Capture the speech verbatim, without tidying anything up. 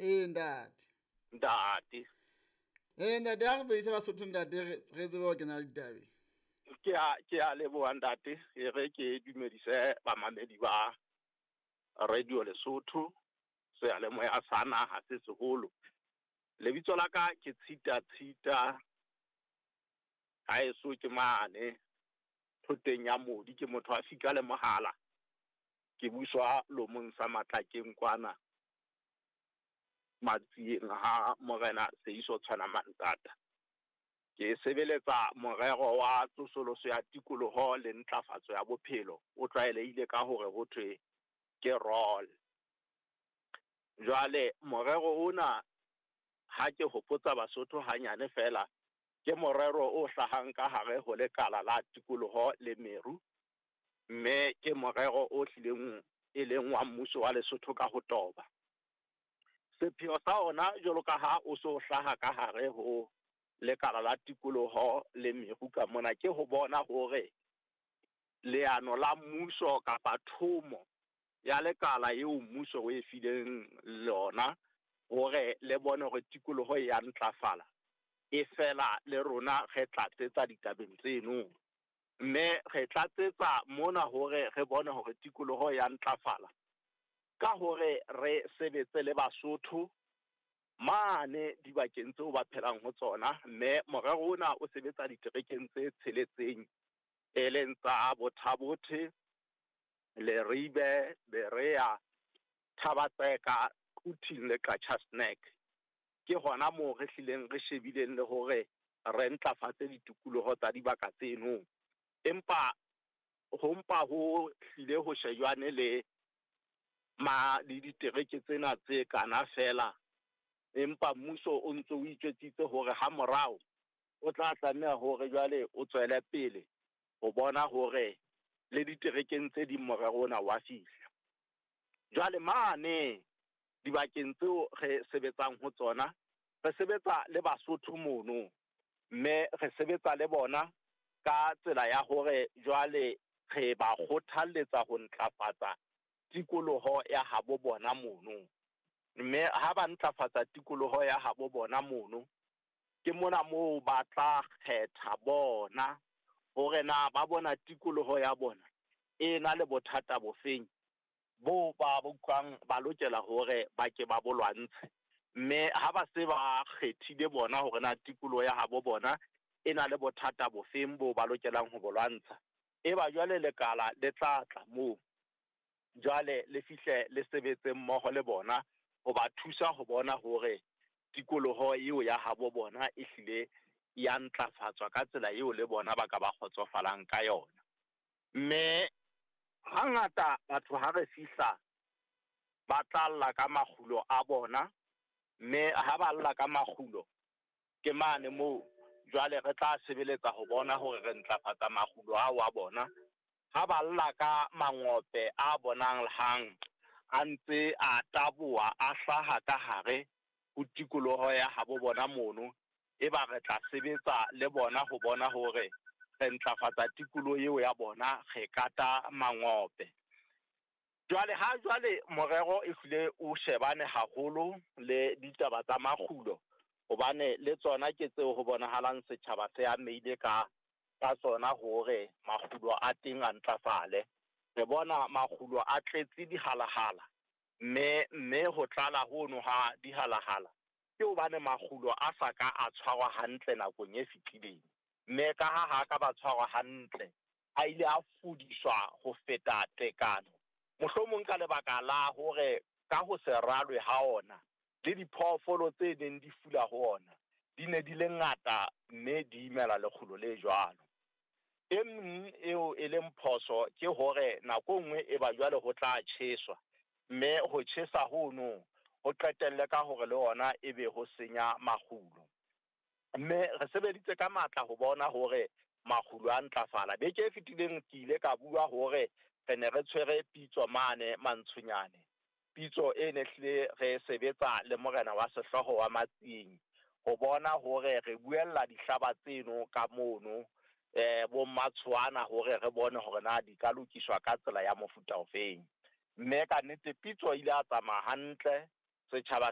Ee ntate. Ntate. Ee ntate, ha re bedise Basotho ntate, re re tsebe ho kena ditabeng. Ke a ke a leboha ntate, e re ke dumedise bamamedi ba Radio Lesotho, seyalemoya sa naha se seholo. Lebitso la ka ke Tshita Tshita, haeso ke mane thoteng ya Modi, ke motho a fika le mohala. Ke buswa lomong sa Matlakeng kwana Matsieng ha Morena Seiso Tshwana Mantsata. Ke sebeletsa morero wa tsosoloso ya tikoloho le ntlafatso ya bophelo, o tlwaelehile ka hore ho thwe ke ROLL. Jwale morero ona ha ke hopotsa Basotho hanyane fela, ke morero o hlahang ka hare ho lekala la tikoloho le meru, mme ke morero o hlileng e leng wa mmuso wa Lesotho ka ho toba. Sepheo sa ona jwalo ka ha o so hlaha ka hare ho lekala la tikoloho le meru ka mona, ke ho bona hore leano la mmuso kapa thomo ya lekala eo mmuso o e fileng lona hore le bone hore tikoloho e ya ntlafala, e fela le rona re tlatsetsa ditabeng tseno. Mme re tlatsetsa mona hore re bone hore tikoloho ya ntlafala ka hore re sebetse le Basotho mane dibakeng tseo ba phelang ho tsona. Mme morero ona o sebetsa diterekeng tse tsheletseng, e leng tsa Botha-Bothe, Leribe, Berea, Thaba-Tseka, Quthing le Qacha's Nek. Ke hona moo re hlileng re shebileng le hore re ntlafatse ditikoloho tsa dibaka tseno. Empa ho mpa ho hlile ho shejwane le ma le ditereke tsena tse kana fela, empa mmuso o ntso o itjwetsitse hore ha morao o tla tlameha hore jwale o tswele pele ho bona hore le diterekeng tse ding morero ona wa fihla. Jwale mane dibakeng tseo re sebetsang ho tsona, re sebetsa le Basotho mono, mme re sebetsa le bona ka tsela ya hore jwale re ba kgothalletsa ho ntlafatsa tikoloho ya habo bona mono. Mme ha ba ntlafatsa tikoloho ya habo bona mono, ke mona moo ba tla kgetha bona hore na ba bona tikoloho ya bona e na le bothata bofeng bo ba utlwang ba lokela hore ba ke ba bo lwantshe. Mme ha ba se ba kgethile bona hore na tikoloho ya habo bona e na le bothata bofeng bo ba lokelang ho bo lwantsha, e ba jwale lekala le tla tla moo jwale le fihle le sebetse mmoho le bona ho ba thusa ho bona hore tikoloho eo ya habo bona e hlile ya ntlafatswa ka tsela eo le bona ba ka ba kgotsofalang ka yona. Mme hangata batho ha re fihla ba tla lla ka makgulo a bona, mme ha ba lla ka makgulo ke mane moo jwale re tla sebeletsa ho bona hore re ntlafatsa makgulo ao a bona. Ha ba lla ka mangope a bonang hang a ntse a taboha a hlaha ka hare ho tikoloho ya habo bona mono, e ba re tla sebetsa le bona ho bona hore re ntlafatsa tikoloho eo ya bona, re kata mangope. Jwale ha jwale morero e hlile o shebane haholo le ditaba tsa makgulo, hobane le tsona ke tseo ho bonahalang setjhaba se amehile ka ka tsona hore makgulo a teng a ntlafale. Re bona makgulo a tletse dihalahala, mme mme ho tlala hono ha dihalahala ke hobane makgulo a sa ka a tshwarwa hantle nakong e fetileng. Mme ka ha ha ka ba tshwarwa hantle, a ile a fudiswa ho feta tekano, mohlomong ka lebaka la hore ka ho se ralwe ha ona le diphoofolo tse neng di fula ho ona di ne di le ngata, mme di imela lekgulo le jwalo. E meng eo e leng phoso ke hore nako e nngwe e ba jwale ho tla tjheswa, mme ho tjhesa hono ho qetelle ka hore le ona ebe ho senya makgulo. Mme re sebeditse ka matla ho bona hore makgulo a ntlafala. Beke e fetileng ke ile ka bua hore re ne re tshwere pitso mane Mantshonyane, pitso e ne hlile re sebetsa le morena wa sehlooho wa Matsieng ho bona hore re buella dihlaba tseno ka mono eh bo Mmatshoana, hore re bone hore na di ka lokiswa ka tsela ya mofuta ofeng. Mme ka nnete pitso ile a tsamaya hantle, setjhaba